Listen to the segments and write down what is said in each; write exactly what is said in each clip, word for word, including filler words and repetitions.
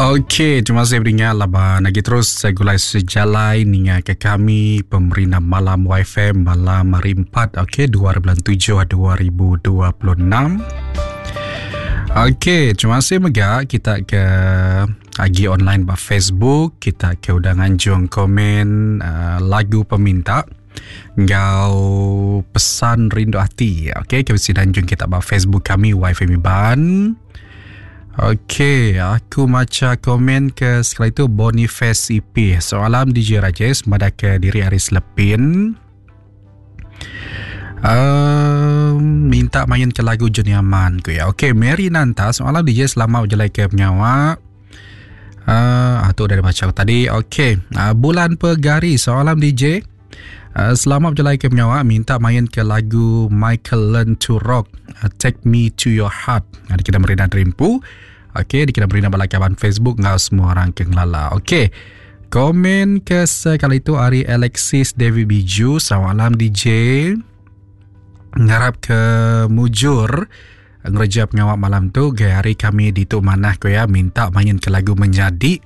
Okey, terima kasih beringat laban lagi terus segulai sejalai ninga ke kami pemerintah malam Y F M malam hari empat, okey, dua bulan tujuh dua ribu dua puluh enam. Okey, terima kasih mega kita ke agi online ba Facebook, kita ke udah nganjung komen uh, lagu peminta ngau pesan rindu hati. Okey, ke mesti danjung kita ba Facebook kami Y F M Iban. Okey, aku baca komen ke sekali itu Boniface E P. Soalan D J Rajesh madah ke diri hari Selepin. Um, minta main ke lagu Johnny Aman ku ya. Okey, Mary Nanta, soalan D J selamat berjalan ke penyawa. Uh, tu dah dibaca tadi. Okey, uh, Bulan Pegari, soalan D J. Uh, selamat berjalan ke penyawa, minta main ke lagu Michael Learn to Rock, uh, Take Me to Your Heart. Uh, dikira Merina Terimpu. Okey, dikira Merina balakaban Facebook ngau semua orang ke ngelala. Okey. Komen ke sekali itu ari Alexis David Biju, selamat malam D J. Ngarap ke mujur ngereja pengawak malam tu. Gaya hari kami di tu manah ko ya, minta main ke lagu menjadi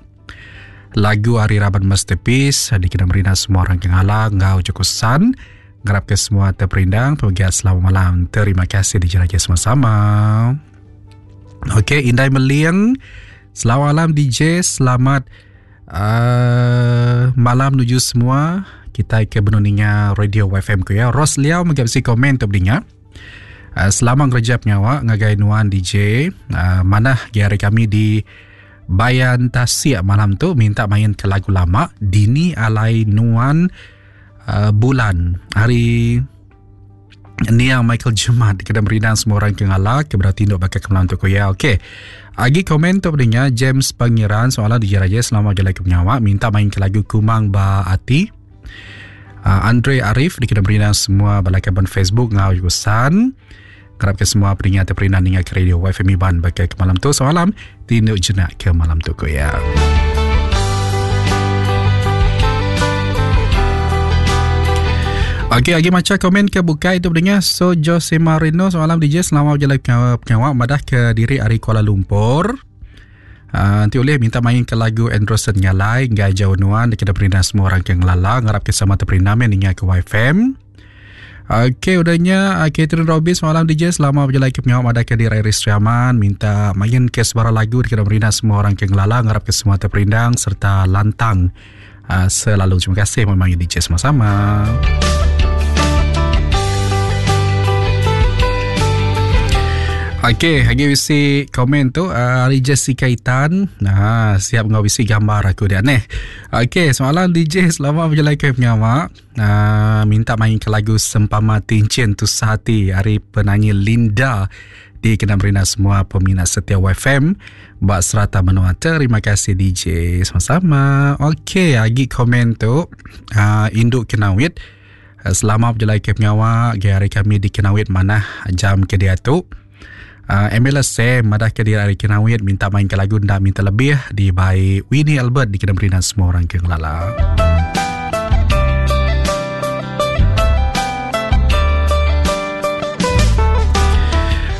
lagu Hari Raban Masterpiece dikena merina semua orang kengala ngau cukusan. Ngarap ke semua terperindang pegiat selamat malam. Terima kasih dijelajah sama-sama. Okey, Indai Meliang, selamat malam D J, selamat uh, malam menuju semua. Kita ke benuninga Radio Y F M ku ya. Ros Liao megap si komen tu beringat. Uh, selamat ngerja penyawa ngagai nuan D J. Uh, manah hari kami di Bayan Tasik malam tu minta main ke lagu lama Dini Alai Nuan uh, Bulan hari Nia Michael Jemat kena merindang semua orang ke ngalah ke berarti ndok bakal ke malam tu ya. Okey. Agi komen tu pendengar James Pangeran soalan D J Raja selamat jalan ke penyawa minta main ke lagu Kumang Ba Ati. Uh, Andre Arif dikena merindang semua balakaban Facebook ngau jurusan. Kerap ke semua peringat terperindah ningat ke radio Y F M Iban bagai ke malam tu. Semalam tinduk jenak ke malam tu ko ya. Okey, lagi macam komen ke bukai itu pendengar. So Jose Marino semalam D J selamat berjalan ke pengawak madah ke diri ari Kuala Lumpur. Uh, nanti boleh minta main ke lagu Anderson Ngalai ngai jauh nuan dikena perindah semua orang ke ngelala ngarap ke sama terperindah ningat ke Y F M. Okey, udahnya Catherine Robin semalam D J selama berjalan ke pengawak madah ke diri Iris Riaman minta main ke sebarang lagu dikena perindah semua orang ke ngelala ngarap ke semua terperindang serta lantang uh, selalu. Terima kasih memang D J sama-sama. Okey, lagi bisi komen tu uh, hari Jessica Itan. Nah, siap ngau bisi gambar aku dia ni. Okey, semalam D J selamat berjalan ke pengawak. Uh, minta main ke lagu Sempama Tincin Tu Sehati hari penyanyi Linda di kena merina semua peminat setia Y F M bak serata menua. Terima kasih D J sama-sama. Okey, lagi komen tu uh, Induk Kenawit. Uh, selamat berjalan ke pengawak. Hari kami di Kenawit mana jam ke dia tu. Uh, Emila Sam madah ke diri hari Kenawit minta main ke lagu ndak minta lebih di by Winnie Albert di kena berinan semua orang ke ngelala.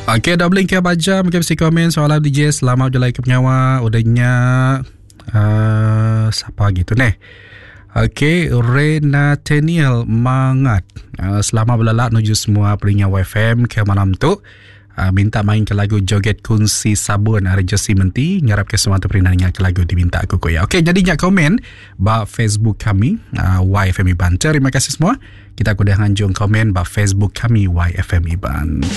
Okey, dah beli ke baca mungkin mesti komen soalan D J selamat berjalan ke penyawa udahnya uh, siapa gitu neh. Okey, Renateniel Mangat. Uh, selamat berlalak menuju semua peringat Y F M ke malam tu. Uh, minta main ke lagu Joget Kunci Sabun hari Jesse Menti ngarap ke semua terperindah ke lagu diminta aku ko ya. Okey, jadi nyak komen ba Facebook kami uh, Y F M Iban. Terima kasih semua. Kita kudah nganjung komen ba Facebook kami Y F M Iban.